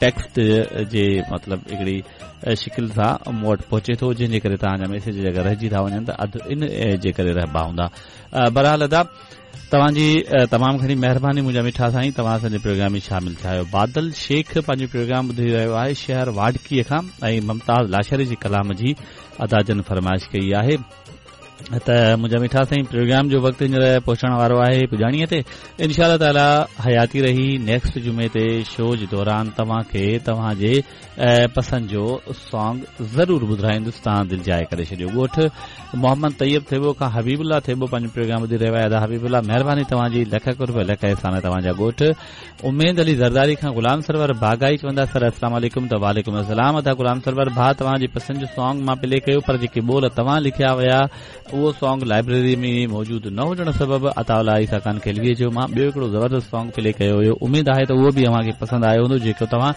Text جي مطلب هڪڙي شڪل سان مون وٽ پهچي ٿو جنهن جي ڪري توهان جا ميسيج اگر رهجي ٿا وڃن ته اڌ ان جي ڪري رهبا هوندا. بهرحال ادا توهان جي تمام گهڻي مهرباني منهنجا مٺا سائين توهان اسان جي پروگرام ۾ شامل ٿيا آهيو. بادل شيخ پنهنجو پروگرام ٻڌي رهيو آهي شهر واڍڪي کان ۽ ممتاز لاشاري جي ڪلام جي ادا جن فرمائش ڪئي آهي. ته منهنجا مٺا سائين پروگرام جو وقت هينئر پهچڻ وارو آهي پڄاڻيء تي انشاء الله تعالي حياتي رهي نيڪسٽ جمعي تي شو جي دوران توهان کي توهان جي پسند جو سانگ ضرور ٻڌرائيندس توهان دل جاء ڪري ڇڏيو ڳوٺ محمد طيب ٿيٻو کان حبيب الله ٿيٻو پنهنجو پروگرام ٻڌي رهيو آهي ادا حبيب الله مهرباني توهان جي لک قرب لک احسان توهان جا ڳوٺ اميد علي زرداري کان غلام سرور باغائي چوندا سر السلام عليڪم ته وعليڪم السلام ادا غلام سرور ڀاء توهان جي پسند جو سانگ مان پلي ڪيو پر جيڪي ٻول توهان لکيا هيا اهو سانگ لائبريري ۾ موجود نه هجڻ سبب عطاء الله عيسيٰ خان خيلوي جو مان ٻيو هڪڙو زبردست سانگ پلي ڪيو هيو اميد آهي ته اهو به اوهان کي پسند آيو هوندو جيڪو توهان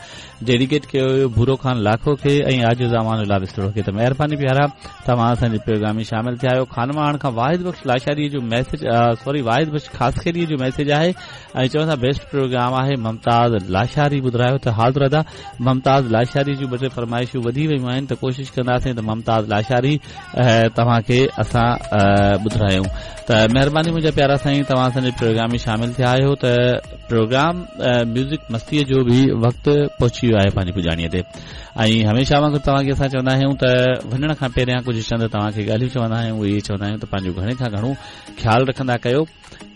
ڊيڊيڪيٽ ڪيو هيو ڀورو خان لاکو کي ۽ عاجز امان الله وسطڙو کي ته مهرباني پيارا توهان اسان جي پروگرام ۾ شامل ٿيا آهيو خانواهڻ کان واحد بخش لاشاري جو ميسج سوري واحد بخش خاصخيلي جو ميسج آهي ۽ چون ٿا بيسٽ پروگرام آهي ممتاز لاشاري ٻڌرايو ته حاضر ادا ممتاز لاشاري جون ٻه ٽي فرمائشون وڌي ويون آهن ته ڪوشش ڪنداسين ته ممتاز لاشاري توهان کي اسان ٻڌرايون ته مهرباني منهنجا پيارا سائين توهان اسان جي پروگرام ۾ شامل ٿيا آهيو ته پروگرام ميوزڪ مستي جو به وقت پهچي ويو آهي پنهنجي پڄاڻي تي ۽ هميشه وانگر توهان کي اسان چوندا آهيون ته وڃڻ کان پهريان ڪجهه چند توهان کي ڳالهيون چوندا آهيون اهي چوندا آهيون ته پنهنجو گهڻي کان گهڻو خيال رکندا ڪيو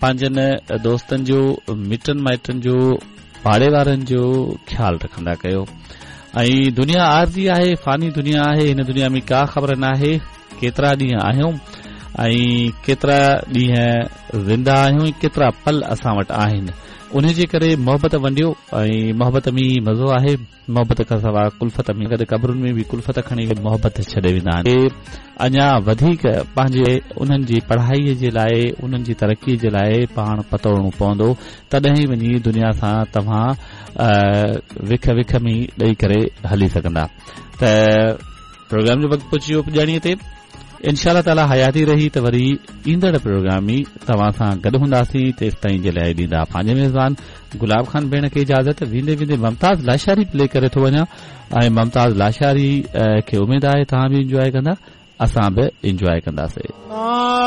پنهنجن دوستن جو، مٽن مائٽن جو، پاڙي وارن جو خيال رکندا ڪيو ۽ دنيا عارضي آهي، فاني دنيا آهي، هن دنيا ۾ ڪا خبر ناهي ڪيترا ڏينهن آهيون ۽ ڪيترا ڏينهن زنده آهيون ۽ ڪيترا پل اسان وٽ آهن، انهي جي ڪري محبت ونڊيو ۽ محبت ۾ ئي مزو آهي. محبت کان سواء ڪلفت ۾ گڏ قبرن ۾ به ڪلفت کڻي محبت ڇڏي ويندا آهن. کي اڃا وڌيڪ پنهنجي انهن جي پڙهائي جي لاء انهن جي ترقي جي لاء پاڻ پتوڙڻو پوندو تڏهن ئي وڃي دنيا سان توهان وک وک ۾ ڏئي ڪري هلي سگهندا ته پروگرام جو وقت پهچي ويو پڄاڻي تي انشاء الله تعالي حياتي رهي ته وري ايندڙ پروگرام ۾ توهان سان گڏ هونداسين تيستائين جي لاء ڏيندا پنهنجي ميزبان گلاب خان ڀيڻ کي اجازت ويندي ويندي ممتاز لاشاري پلي ڪري ٿو وڃان ۽ ممتاز لاشاري کي اميد آهي توهان به انجواء ڪندا اسان به انجواء ڪنداسين.